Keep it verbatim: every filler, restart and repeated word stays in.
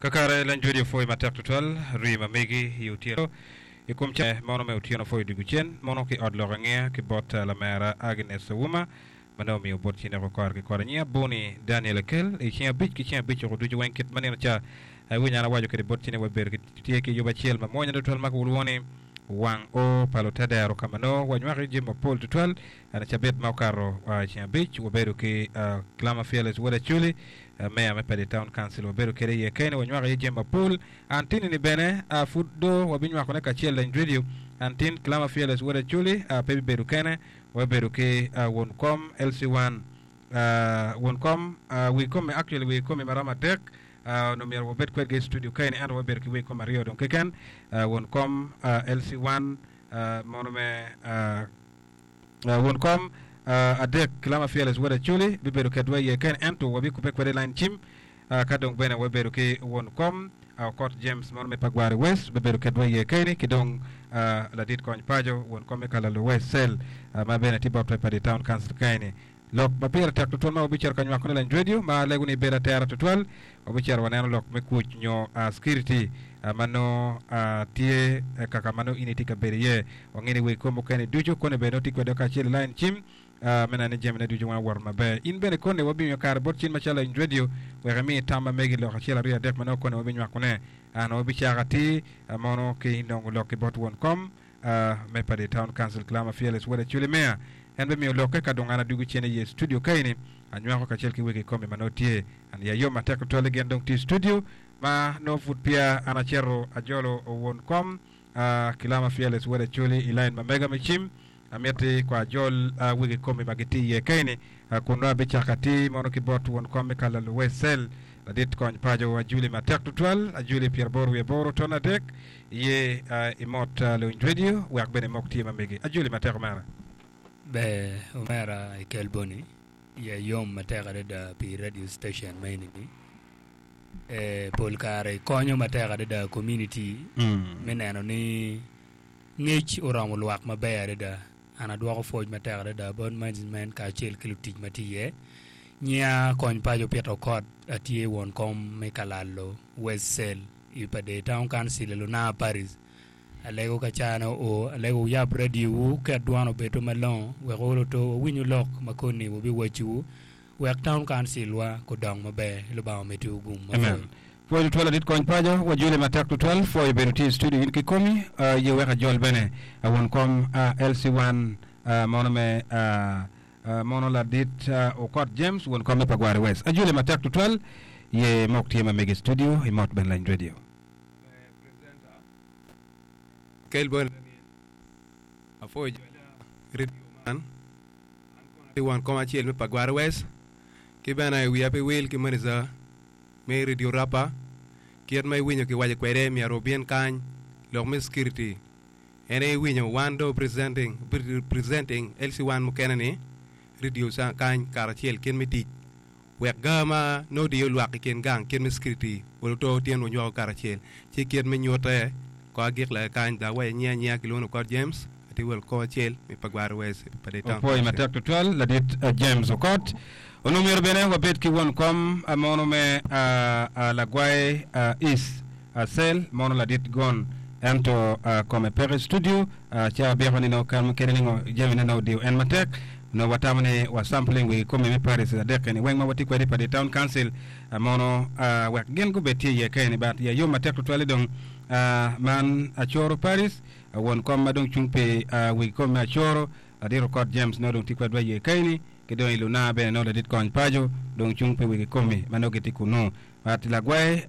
Kakare lany radio pwoyo matek tutwal rii ma megi i otyeno i kom ca mono me otyeno pwoyo dwogo cen mono ki ot lok angeya ki bot lamera Agnes Owuma ma nongo omiyo bot cineko kore ki kore nyinga Boni Daniel Akel i ceng abic ki ceng abic oko ducu weng kit ma nino ca awinyo an awaco kwede bot cine wabedo ki tye ki yub acel ma mwonya tutwal ma kilwongo ni wang o pa lutedero ka ma nongo wanywako iye jami mapol tutwal ene cabit ma okato i ceng abic wabedo ki Kilama Fearless Wod Acholi meya me Padi Town Council wabedo kwede iye kene wanywako iye jami mapol an tinini bene pud do wabinywakone kacel lany radio an tin Kilama Fearless Wod Acholi pe bibedo kene wabedo ki won kom L C one won kom wi kome actually wi kome maromo adek onongo myero wabed kwedgi i studio kaeni ento wabedo ki wi kom aryo dong keken won kom L C one mono me won kom adek Kilama Fearless Wod Acholi bibedo kedwa iye kene ento wabikube kwede i line cim ka dong bene wabedo ki won kom Okot James mono me Pagwari West bibedo kedwa iye keni ki dong ladit kony paco won kom me Kalalo West Cell ma bene tye bot Padi Town Council kaeni lok ma pire tek tutwal ma wabicito ka nywakone lany radio ma alego ni ibedo atera tutwal wabicito waneno lok me kuc nyo security ma nongo tye kaka ma nongo in itye ka bedo iye wange ni wi kom mukene ducu koni bene nongo tye kwede kacel i line cim me neno ni jamine ducu weng owoto maber in bene koni wabimiyo kare bot cin macalo lany radio wek imi tam ma megi lok acel aryo adek ma nongo koni wabinywakone an wabicako atir mono ki nongo lok ki bot won kom me Padi Town Council Kilama Fearless Wod Acholi Meya en bimiyo lokke ka dong an adwogo cen iye studio kaeni anywako kacel ki wegi komi ma nongo tye an ya yom matek tutwal gin dong tye i studio ma nongo pud peya an acito ajolo won kom Kilama Fearless Wod Acholi i line ma mega me cim amiti kwa ajol wegi komi ma gitye iye kaeni kun nongo abicako atir mono ki bot won kom me Kalalo West Cell ladit kony paco ajuli matek tutwal ajuli pyeraboro wiye aboro ton adek iye imot luwiny radio wek bene imok tye ma megi ajuli matek omera. Ber omera i Kelboni iya yom matek adada pi radio station ma eni-ni. Eh, pol kare konyo matek adada community me neno ni ngec oromo lwak maber adada. An adwoko pwoc matek adada bot management kacel ki lutic ma tye iye. Nyinga kony paco Peter Okot atye won kom me Kalalo West Cell i Pader Town Council i Lunaa Parish. Alego ka caa ne oo, alego wuyab radio wu ket dwon obedo malongo wek oluto wawinyu lok ma koni wabiwacciwu wek town council wa kudong maber. Lubanga omeddiwu gum Amen. mapol. Pwoyo tutwal ladit kony paco wajoli matek tutwal pwoyo bedo tye i studio in kikomi uh, ye wek ajol bene uh, won kom uh, L C one uh, mono me uh, uh, mono ladit uh, Okot James won kom me Pagwari West ajoli matek tutwal ye mok tye ma megi i studio imot ben lany radio. Kelbon apwoyo jola radio man an kono atye won kom acel me Pagwari West ki bene wiya pe wil ki manager me Radio Rapa kit ma iwinyo kiwaco kwede myero obin kany lok me security en aye iwinyo wan do presenting presenting L C one mukene ni radio kany karacel kit me tic wek ga ma nongo diyo lwak i kin gang kit me security oluto tyen wanywako karacel ci kit me nyute ko agik laka kany dok awaco nyinga nyinga kilwongo ni Okot James atye won kom acel me Pagwari West Pader Town Opwoyo Council. Matek tutwal ladit uh, James Okot onongo myero bene wabed ki won kom uh, mono me uh, uh, Lagwai uh, East uh, Cell mono ladit Gon ento uh, kome peke i studio uh, ca abyeko ni nongo kan kede ni ngo jamine nongo odiyo en matek nongo watamo ni wa sampling wi komi me Parish adek eni weng ma watye kwede i Pader Town Council uh, mono uh, wek gin gubed tye iye keni but ya yom matek tutwal dong uh, man Acoro Parish uh, won kom ma dong cung pi uh, wi kom me Acoro ladit Okot James nongo dong tye kwedwa iye keni ki dong i Luna bene nongo ladit kony paco dong cung pi wigi komi ma nongo gitye kunu but Lagwai